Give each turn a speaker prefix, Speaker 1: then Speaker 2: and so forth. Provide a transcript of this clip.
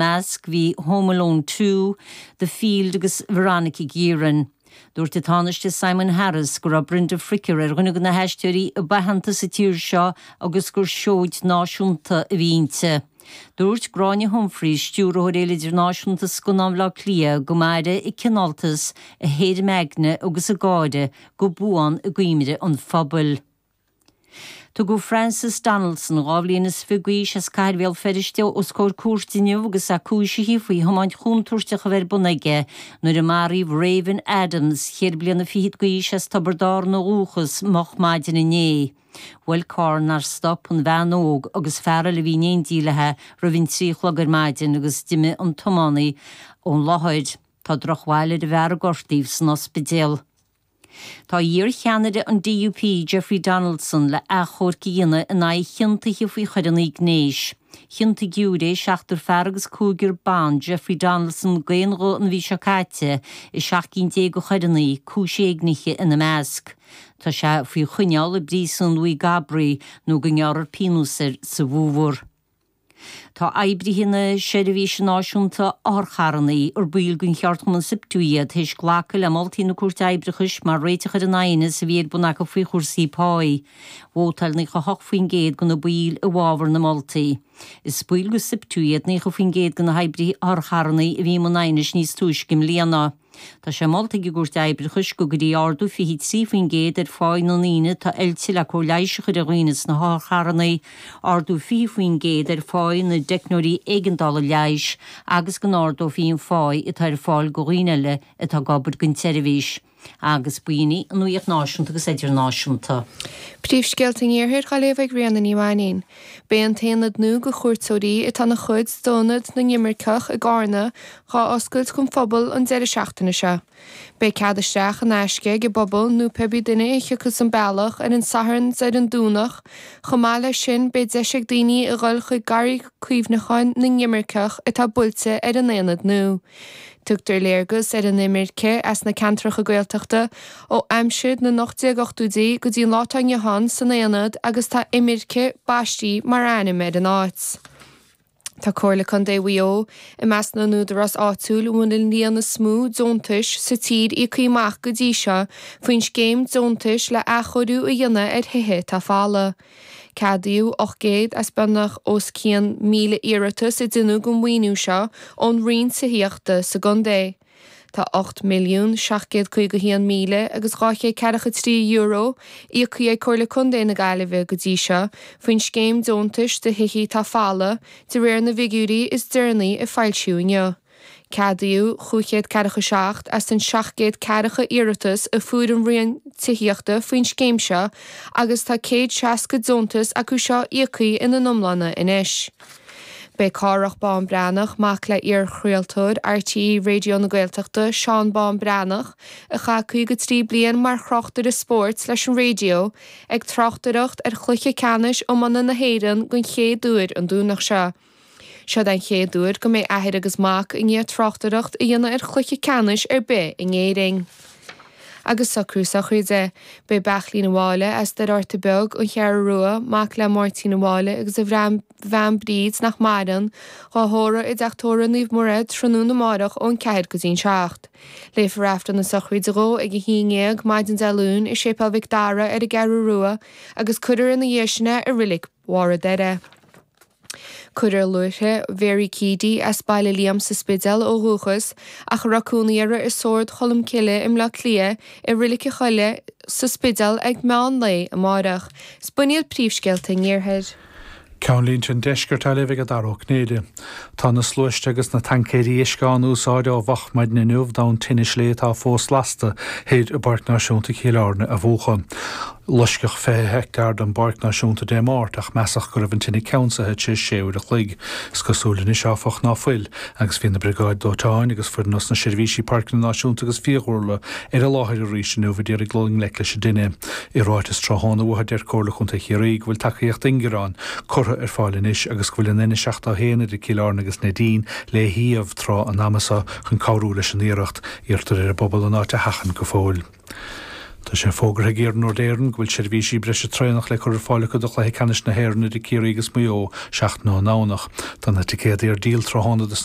Speaker 1: measc bhí Home Alone 2, The Field agus Veronica Guerin. Dúirt an Tánaiste Simon Harris go raibh Brenda Fricker ar dhuine de na haisteoirí ab aitheanta sa tír seo agus gur seoid náisiúnta a bhí inti. Dúirt Gráinne Humphreys, Stiúrthóir Fhéile Idirnáisiúnta Scannán Bhaile Átha Cliath, go mairfidh a cineáltas, a héirim aigne agus a gáire go buan i gcuimhne an phobail. Tugadh Francis Donaldson, 22 bhliain d'aois, as Cathair Bhéal Feirste os comhair cúirte inniu agus é cúisithe faoi thiomáint chontúirteach a bheith ar bun aige nuair a maraíodh Raven Adams, cheithre bliana fichead d'aois as Tiobraid Árann ó dhúchas, moch maidin inné. Bhuail carr nár stop an bhean óg agus fear eile a bhí in éindí léi roimh an 3 a chlog ar maidin agus d'imigh an tiománaí ón láthair. Tá drochbhail ar an bhfear a gortaíodh san ospidéal. Tá iar-cheannaire an DUP, Jeffrey Donaldson, le achomharc a dhéanamh in aghaidh a chiontaithe faoi choireanna gnéis. Chiontaigh giúiré, seachtar fear agus cúigear ban, Jeffrey Donaldson d'aon ghuth an mhí seo caite i 17 cinn de choireanna, cúis éignithe ina measc. Tá sé faoi choinneáil i bpríosún Mhaigh gCabraí nó go ngearrfar pionós air sa bhfómhar. Tá oibrithe na Seirbhíse Náisiúnta Otharcharranna, ar baill den cheardchumann Siptu iad, théis glacadh le moltaí na Cúirte Oibreachais mar réiteach ar an aighneas a bhí ar bun acu faoi chúrsaí páí. Vótáil 98% de na baill i bhfabhar na moltaí. Is baill de Siptu iad 90% de na hoibrithe otharcharranna a bhí i mbun aighnis níos túisce i mbliana. Tá sé molta ag an gCúirt Oibreachais go gcuirfí ardú 23% ar pháí na ndaoine atá oilte le cóir leighis a chur ar dhaoine sna hotharcharranna, ardú 20% ar pháí na dteicneoirí éigeandála leighis agus go n-ardófaí an pháí atá ar fáil do dhaoine eile atá ag obair don tseirbhís. Agus b'in í an nuacht náisiúnta agus idirnáisiúnta.
Speaker 2: Príomhscéalta an Iarthair á léamh ag Ríona Ní Mhainín. Beidh an t-aonad nua do chuairteoirí atá ina chuid d'Ionad na nImirceach i gCarna dhá oscailt don phobal an deireadh seachtaine seo. Beidh cead isteach in aisce ag an bpobal nó pé bith duine a thiocfas an bealach ar an Satharn 's ar an Domhnach. Chomh maith leis sin beidh deis ag daoine a dhul chuig Garraí Cuimhneacháin na nImirceach atá buailte ar an aonad nua. Tugtar léargas ar an imirce as na ceantracha Gaeltachta ó aimsir na n-1880idí go dtí an lá atá inniu ann san aonad agus tá Imirce baistí mar ainm ar an áit. Tá Comhairle Contae Mhaigh Eo i measc na n-údarás áitiúil a bhfuil an líon is mó deontais sa tír íoctha amach go dtí seo faoin scéim deontais le athchóiriú a dhéanamh ar thithe atá folamh. Ceadaíodh 800 as beagnach os cionn 1,000 iarratas a deineadh don mhaoiniú seo ón Roinn Tithíochta sa gcontae. Tá €8,751,000 agus €243 íoctha ag Comhairle Contae na Gaillimhe go dtí seo faoin scéim deontais do thithe atá folamh, de réir na bhfigiúirí is deireanaí a foilsíodh inniu. Ceadaíodh 547 as an 740 iarratas a fuair an Roinn Tithíochta faoin scéim seo agus tá 160 deontas acu seo íoctha ina n-iomláine anois. Beidh Cárthach Bán Breathnach, mac le iar-chraoltóir RTÉ Raidió na Gaeltachta, Seán Bán Breathnach, a chaith 53 bliain mar thráchtaire spóirt leis an raidió, ag tráchtaireacht ar chluiche ceannais iomána na hÉireann den chéad uair an Domhnach seo. Seod é an chéad uair go mbeidh athair agus mac i ndiaidh tráchtaireacht a dhéanamh ar chluiche ceannais ar bith in Éirinn. Agus socrú sochraide. Beidh Beairtlín a' Mháille as Doire Fhárta Beag, An Cheathrú Rua, mac le Máirtín A' Mháille agus a bhean Bríd, nach maireann, dhá thórramh i dTeach Tórraimh Naomh Muire tráthnóna amárach ón 4 go dtí'n 7. Léifear Aifreann na sochraide dhó ag a haon dhéag maidin Dé Luain i Séipéal Mhic Dara ar an gCeathrú Rua agus cuirfear ina dhiaidh sin é i Reilig Bharr an Doire. Cuirfear luaithre Mhary Keady as Baile Liam sa Spidéal ó dhúchas ach a raibh cónaí uirthi i Sord Cholm Cille i mBleá Cliath i Reilig a' Choilligh sa Spidéal ag meán lae amárach. 'S b'in iad príomhscéalta an Iarthair.
Speaker 3: Ceannlínte an Deiscirt á léamh ag Dara Ó Cinnéide. Tá na sluaiste agus na taincéirí uisce á n-úsáid ó mhoch maidin inniu d'fhonn tine slé atá fós lasta thoir i bPáirc Náisiúnta Chill Airne a mhúchadh. Loisceadh 20 heicteár den bPáirc Náisiúnta Dé Máirt ach measadh go raibh an tine ceansaithe tar éis 6 uair a chloig. Is cosúil anois, áfach, ná fuil, agus bhí na briogáid dóiteáin agus foireann os na seirbhísí Páirceanna Náisiúnta agus Fiadhúlra ar an láthair arís inniu a d'iarraidh dul i ngleic leis an dtine. I ráiteas tráthnóna uathu deir Comhairle Chontae Chiarraí go bhfuil tacaíocht ingearáin curtha ar fáil anois agus go bhfuil an N71 idir Cill Airne agus Neidín le shuíomh tráth an ama seo chun cabhrú leis an iarracht. Iarrtar ar an bpobal an áit a sheachaint go fóill. Tá sé fógartha ag Iarnród Éireann go bhfuil seirbhísí breise traenach le cur ar fáil acu do chluiche ceannais na hÉireann idir Ciarraí agus Maigh Eo seachtain ón nDomhnach. Tá na ticéadaí ar díol tráthnóna dos na.